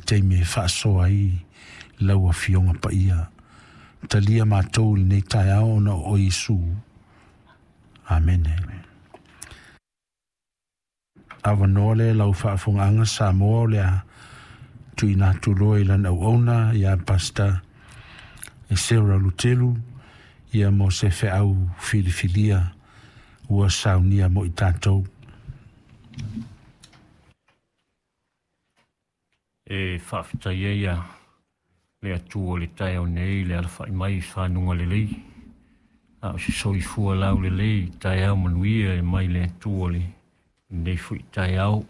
taimi e faasoa ai lau Afioga Paia. Talia matou i lenei taeao ona o oe Iesu. Amene. Avanoa lea lau faafofogaaga Samoa o le a tuuina atu loa i lana auauna ia Pastor Esera Lutelu ia mo se feau filifilia ua saunia mo i tatou. E faafetai ai a le Atua i le taeao nei i le alafai mai i fanuga lelei, a o se soifua laulelei i taeao manuia e mai le Atua i lenei foi taeao.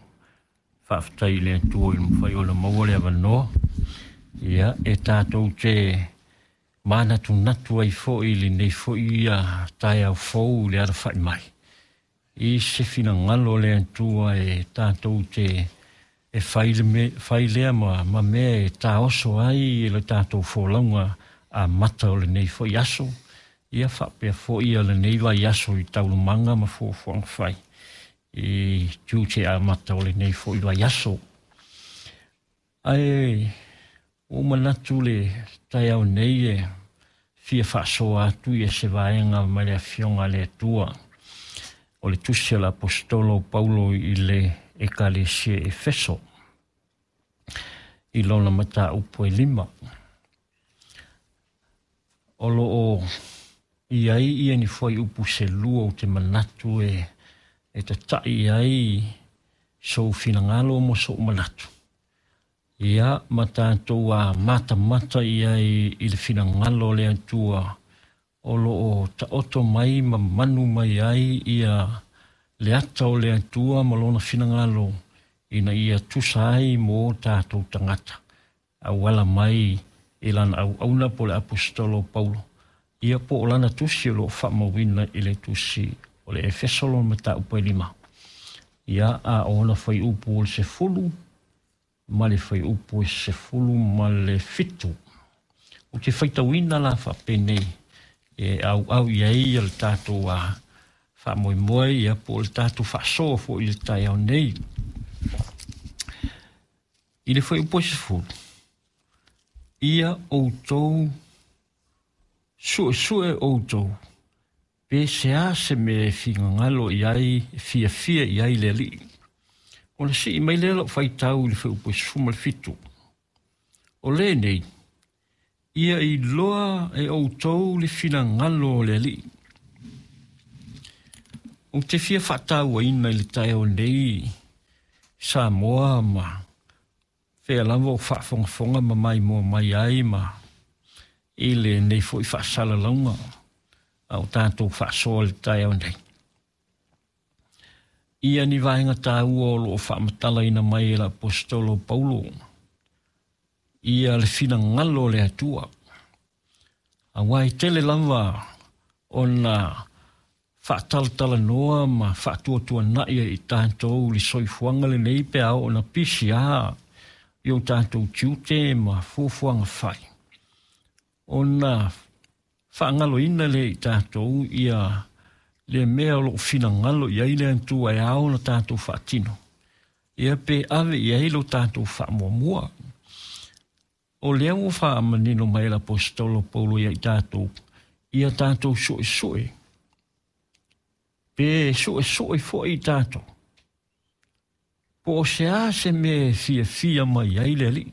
Faafetai i le Atua i le mafai ona maua le avanoa, ia, e tatou te manatunatu ai foi i lenei foi taeao fou i le alafai mai i se finagalo o le Atua e tatou te e fai, le me, fai lea ma mea e taoso ai i le tatou folauga amata o lenei foi aso, ia faapea foi ia lenei vaiaso i taualumaga ma fuafuaga fai i tiute amata o lenei foi vaiaso. Ae ua ou manatu le taeao nei e fia faasoa atu ia se vaega mai le Afioga a le Atua o le tusi a le Aposetolo o Paulo i le Ekalesia i Efeso i lona mataupu e 5. O lo o i ai ia ni fuaiupu se lua ou te manatu e tata'i ai sou finagalo mo so'u manatu. Ia ma tatou a matamata i ai i le finagalo o le Atua o lo o taoto mai ma manu mai ai ia le ata o le Atua ma lona finagalo ina ia tusa ai mo tatou tagata auala mai i lana auauna po o le Aposetolo o Paulo, ia po o lana tusi o lo o faamauina i le tusi o le Efeso lona mataupu e 5, ia a o ona fuaiupu o le 10 ma le fuaiupu e 17. Ou te faitauina la faapenei e auau i ai le tatou faamoemoe, ia po o le tatou faasoa foi i le taeao nei. I le fuaiupu e 10, ia outou suesue outou pe se a se mea e finagalo i ai, e fiafia i ai le Alii. Ona sii mai lea lau faitau i le fuaiupu e 17. O lenei, ia iloa e outou le finagalo o le Alii. Ou te fia faatauaina i le taeao nei Samoa ma fea lava o faafogafoga ma maimoa mai ai ma i lenei foi faasalalauga a o tatou faasoa i le taeao nei. Ia ni vaega taua o lo o faamatalaina mai e le Aposetolo o Paulo, ia le finagalo o le Atua. Aua e tele lava ona faatalatalanoa ma faatuatuana'i ai i tatou le soifuaga lenei pe a oo ina pisia i o tatou tiute ma fuafuaga fai, ona faagaloina lea i tatou ia le mea o lo o finagalo i ai le Atua e ao ona tatou faatino, ia pe ave i ai lo tatou faamuamua. O lea ua faamanino mai e le Aposetolo Paulo ia i tatou, ia tatou suesue, pe suesue foi i tatou, po o se a se mea e fiafia mai ai le Alii.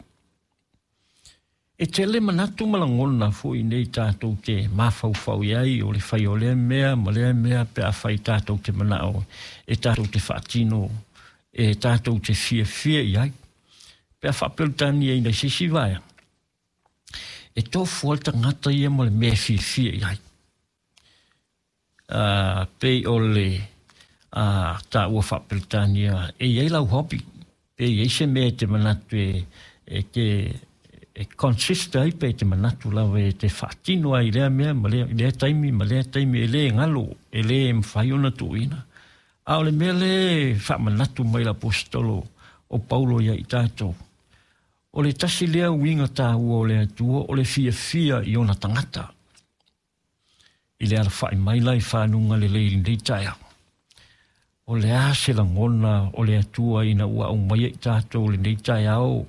E tele manatu ma lagona foi nei tatou te mafaufau i ai o le fai o lea mea ma lea mea pe a fai tatou te manao e tatou te faatino, e tatou te fiafia i ai. Pe a faapeletania i se isi vaega, e tofu ai le tagata ia ma le mea e fiafia i ai. Pei o le taua faapeletania e i ai lau hobby, pe i ai se mea e te manatu e te e consist ai pe te manatu lava e te faatino ai lea mea ma lea taimi ma lea taimi e le galo, e le mafai ona tuuina. A o le mea le faamanatu mai le Aposetolo o Paulo ia i tatou, o le tasi lea uiga taua o le Atua o le fiafia i ona tagata. I le alafai mai la i fanuga lelei i lenei taeao, o le a se lagona o le Atua ina ua aumaia i tatou lenei taeao